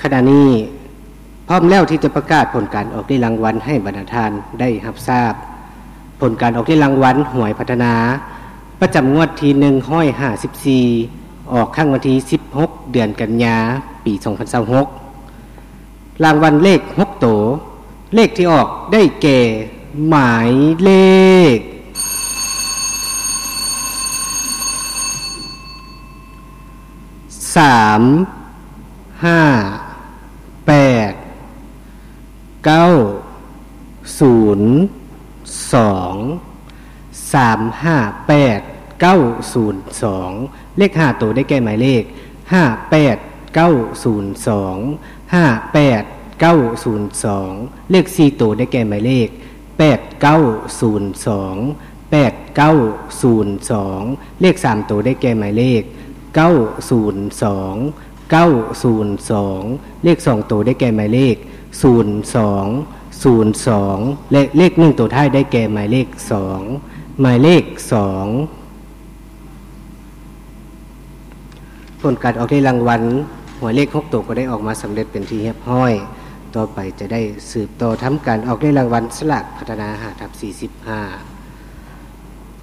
ຂະນະນີ້ພ້ອມແລ້ວທີ່ຈະປະກາດຜົນການອອກເລກລາງວັນໃຫ້ບັນດາທ່ານໄດ້ຮັບຊາບ. ຜົນການອອກເລກລາງວັນຫວຍພັດທະນາ ປະຈຳງວດທີໜຶ່ງຮ້ອຍຫ້າສິບສີ່ ອອກຄັ້ງວັນທີສິບຫົກ ເດືອນກັນຍາ ປີສອງພັນຊາວຫົກ. ລາງວັນເລກຫົກໂຕ, ເລກທີ່ອອກໄດ້ແກ່ ໝາຍເລກ ສາມ ຫ້າ ແປດ ເກົ້າ ສູນ ສອງ ສາມ ຫ້າ ແປດ ເກົ້າ ສູນ ສອງ. ເລກຫ້າໂຕໄດ້ແກ່ໝາຍເລກ ຫ້າ ແປດ ເກົ້າ ສູນ ສອງ ຫ້າ ແປດ ເກົ້າ ສູນ ສອງ. ເລກສີ່ໂຕໄດ້ແກ່ໝາຍເລກ ແປດ ເກົ້າ ສູນ ສອງ ແປດ ເກົ້າ ສູນ ສອງ. ເລກສາມໂຕໄດ້ແກ່ໝາຍເລກ ເກົ້າ ສູນ ສອງ ເກົ້າ ສູນ ສອງ. ເລກສອງໂຕໄດ້ແກ່ໝາຍເລກ ສູນ ສອງ ສູນ ສອງ ແລະ ເລກໜຶ່ງໂຕທ້າຍໄດ້ແກ່ໝາຍເລກ ສອງ ໝາຍເລກ ສອງ. ຜົນການອອກເລກລາງວັນຫວຍເລກຫົກໂຕກໍໄດ້ອອກມາສຳເລັດເປັນທີ່ຮຽບຮ້ອຍ. ຕໍ່ໄປຈະໄດ້ສືບຕໍ່ທຳການອອກເລກລາງວັນສະຫຼາກພັດທະນາ ຫ້າ ທັບ ສີ່ສິບຫ້າ.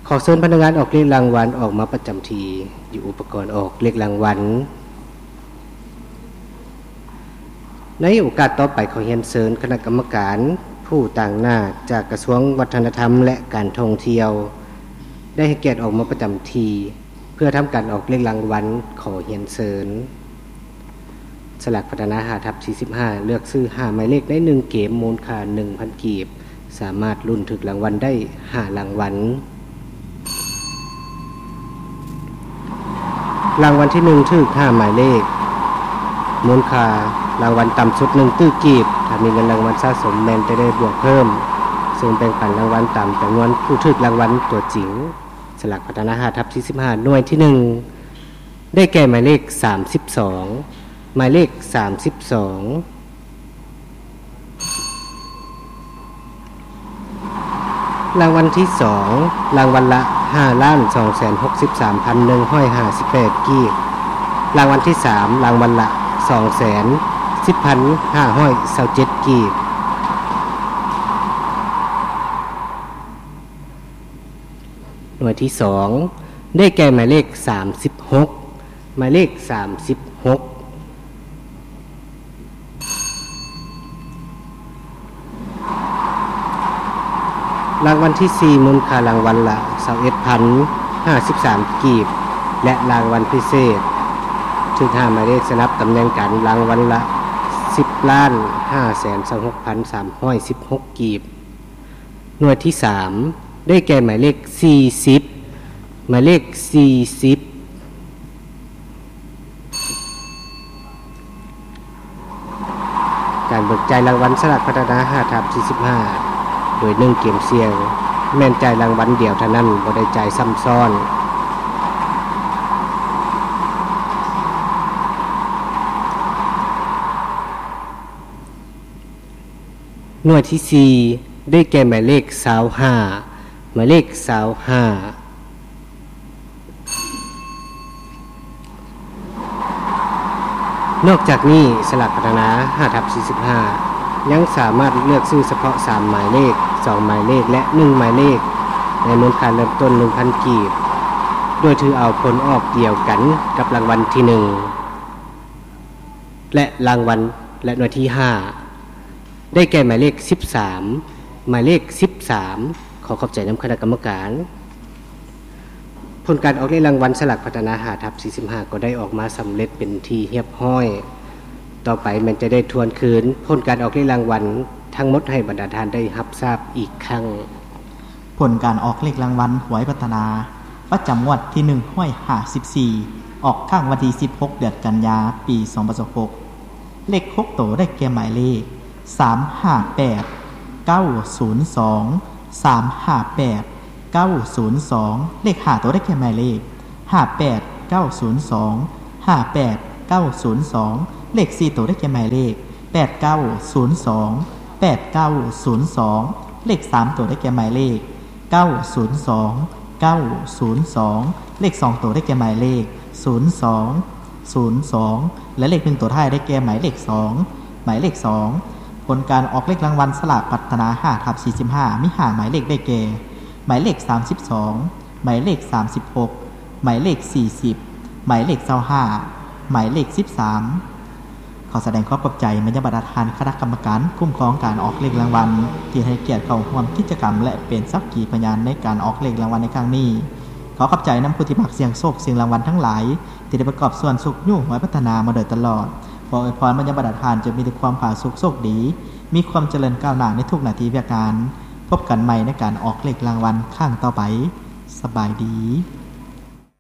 ຂໍເຊີນພະນັກງານອອກເລກລາງວັນອອກມາປະຈຳທີ່ຢູ່ອຸປະກອນອອກເລກລາງວັນ. ໃນໂອກາດຕໍ່ໄປ ຂໍຮຽນເຊີນຄະນະກຳມະການຜູ້ຕາງໜ້າຈາກກະຊວງວັດທະນະທຳ ແລະ ການທ່ອງທ່ຽວ ໄດ້ໃຫ້ກຽດອອກມາປະຈຳທີ່ເພື່ອທຳການອອກເລກລາງວັນ. ຂໍຮຽນເຊີນ. ສະຫຼາກພັດທະນາ ຫ້າ ທັບ ສີ່ສິບຫ້າ ເລືອກຊື້ຫ້າໝາຍເລກໃນໜຶ່ງເກມ ມູນຄ່າໜຶ່ງພັນກີບ. ສາມາດລຸ້ນຖືກລາງວັນໄດ້ຫ້າລາງວັນ. ລາງວັນທີໜຶ່ງຖືກຫ້າໝາຍເລກ, ມູນຄ່າລາງວັນຕ່ຳສຸດໜຶ່ງຕື້ກີບ. ຖ້າມີເງິນລາງວັນສະສົມແມ່ນຈະໄດ້ບວກເພີ່ມ, ເຊິ່ງແບ່ງປັນລາງວັນຕາມຈຳນວນຜູ້ຖືກລາງວັນຕົວຈິງ. ສະຫຼາກພັດທະນາ ຫ້າ ທັບ ສີ່ສິບຫ້າ ໜ່ວຍທີໜຶ່ງ ໄດ້ແກ່ໝາຍເລກສາມສິບສອງ, ໝາຍເລກສາມສິບສອງ. ລາງວັນທີສອງ ລາງວັນລະຫ້າລ້ານສອງແສນຫົກສິບສາມພັນໜຶ່ງຮ້ອຍຫ້າສິບແປດກີບ. ລາງວັນທີສາມ ລາງວັນລະສອງແສນສິບພັນຫ້າຮ້ອຍຊາວເຈັດກີບ. ໜ່ວຍທີສອງ ໄດ້ແກ່ໝາຍເລກສາມສິບຫົກ, ໝາຍເລກສາມສິບຫົກ. ລາງວັນທີສີ່ ມູນຄ່າລາງວັນລະຊາວເອັດພັນຫ້າສິບສາມກີບ ແລະ ລາງວັນພິເສດ ຖືກຫ້າໝາຍເລກສະໜັບຕຳແໜ່ງກັນ ລາງວັນລະສິບລ້ານຫ້າແສນຊາວຫົກພັນສາມຮ້ອຍສິບຫົກກີບ. ໜ່ວຍທີສາມ ໄດ້ແກ່ໝາຍເລກສີ່ສິບ, ໝາຍເລກສີ່ສິບ. ການເບີກຈ່າຍລາງວັນສະຫຼາກພັດທະນາ ຫ້າ ທັບ ສີ່ສິບຫ້າ ໂດຍໜຶ່ງເກມສ່ຽງ ແມ່ນຈ່າຍລາງວັນດຽວເທົ່ານັ້ນ, ບໍ່ໄດ້ຈ່າຍຊ້ຳຊ້ອນ. ໜ່ວຍທີສີ່ ໄດ້ແກ່ໝາຍເລກຊາວຫ້າ, ໝາຍເລກຊາວຫ້າ. ນອກຈາກນີ້, ສະຫຼາກພັດທະນາ ຫ້າ ທັບ ສີ່ສິບຫ້າ ຍັງສາມາດເລືອກຊື້ສະເພາະສາມໝາຍເລກ, ສອງໝາຍເລກ ແລະ ໜຶ່ງໝາຍເລກ ໃນມູນຄ່າເລີ່ມຕົ້ນໜຶ່ງພັນກີບ, ໂດຍຖືເອົາຜົນອອກດຽວກັນກັບລາງວັນທີໜຶ່ງ ແລະ ລາງວັນ ແລະ ໜ່ວຍທີຫ້າ ໄດ້ແກ່ໝາຍເລກສິບສາມ, ໝາຍເລກສິບສາມ. ຂໍຂອບໃຈນຳຄະນະກຳມະການ. ຜົນການອອກເລກລາງວັນສະຫຼາກພັດທະນາ ຫ້າ ທັບ ສີ່ສິບຫ້າ ກໍໄດ້ອອກມາສຳເລັດເປັນທີ່ຮຽບຮ້ອຍ. ຕໍ່ໄປແມ່ນຈະໄດ້ທວນຄືນຜົນການອອກເລກລາງວັນທັງໝົດໃຫ້ບັນດາທ່ານໄດ້ຮັບຊາບອີກຄັ້ງ. ຜົນການອອກເລກລາງວັນຫວຍພັດທະນາ ປະຈຳງວດທີໜຶ່ງຮ້ອຍຫ້າສິບສີ່ ອອກຄັ້ງວັນທີສິບຫົກ ເດືອນກັນຍາ ປີສອງພັນຊາວຫົກ. ເລກຫົກໂຕໄດ້ແກ່ໝາຍເລກ ສາມຫ້າແປດ ເກົ້າສູນສອງ ສາມຫ້າແປດ ເກົ້າສູນສອງ. ເລກຫ້າໂຕໄດ້ແກ່ໝາຍເລກ ຫ້າແປດ ເກົ້າສູນສອງ ຫ້າແປດ ເກົ້າສູນສອງ. ເລກສີ່ໂຕໄດ້ແກ່ໝາຍເລກ ແປດເກົ້າສູນສອງ ແປດເກົ້າສູນສອງ. ເລກສາມໂຕໄດ້ແກ່ໝາຍເລກ ເກົ້າສູນສອງ ເກົ້າສູນສອງ. ເລກສອງໂຕໄດ້ແກ່ໝາຍເລກ ສູນສອງ ສູນສອງ ແລະ ເລກໜຶ່ງໂຕທ້າຍໄດ້ແກ່ໝາຍເລກສອງ. ໝາຍເລກສອງ ຜົນການອອກເລກລາງວັນສະຫຼາກພັດທະນາ ຫ້າທັບສີ່ສິບຫ້າ ມີຫ້າໝາຍເລກໄດ້ແກ່ ໝາຍເລກສາມສິບສອງ, ໝາຍເລກສາມສິບຫົກ, ໝາຍເລກສີ່ສິບ, ໝາຍເລກຊາວຫ້າ, ໝາຍເລກສິບສາມ. ຂໍສະແດງຄວາມຂອບໃຈມາຍັງບັນດາທ່ານຄະນະກຳມະການຄຸ້ມຄອງການອອກເລກລາງວັນ ທີ່ໃຫ້ກຽດເຂົ້າຮ່ວມກິດຈະກຳ ແລະ ເປັນສັກຂີພະຍານໃນການອອກເລກລາງວັນໃນຄັ້ງນີ້. ຂໍຂອບໃຈນຳຜູ້ທີ່ມັກສ່ຽງໂຊກສ່ຽງລາງວັນທັງຫຼາຍ ທີ່ໄດ້ປະກອບສ່ວນຊຸກຍູ້ຫວຍພັດທະນາມາໂດຍຕະຫຼອດ. ຂໍອວຍພອນມາຍັງບັນດາທ່ານ ຈົ່ງມີແຕ່ຄວາມຜາສຸກໂຊກດີ, ມີຄວາມຈະເລີນກ້າວໜ້າໃນທຸກໜ້າທີ່ວຽກງານ. ພົບກັນໃໝ່ໃນການອອກເລກລາງວັນຄັ້ງຕໍ່ໄປ. ສະບາຍດີ.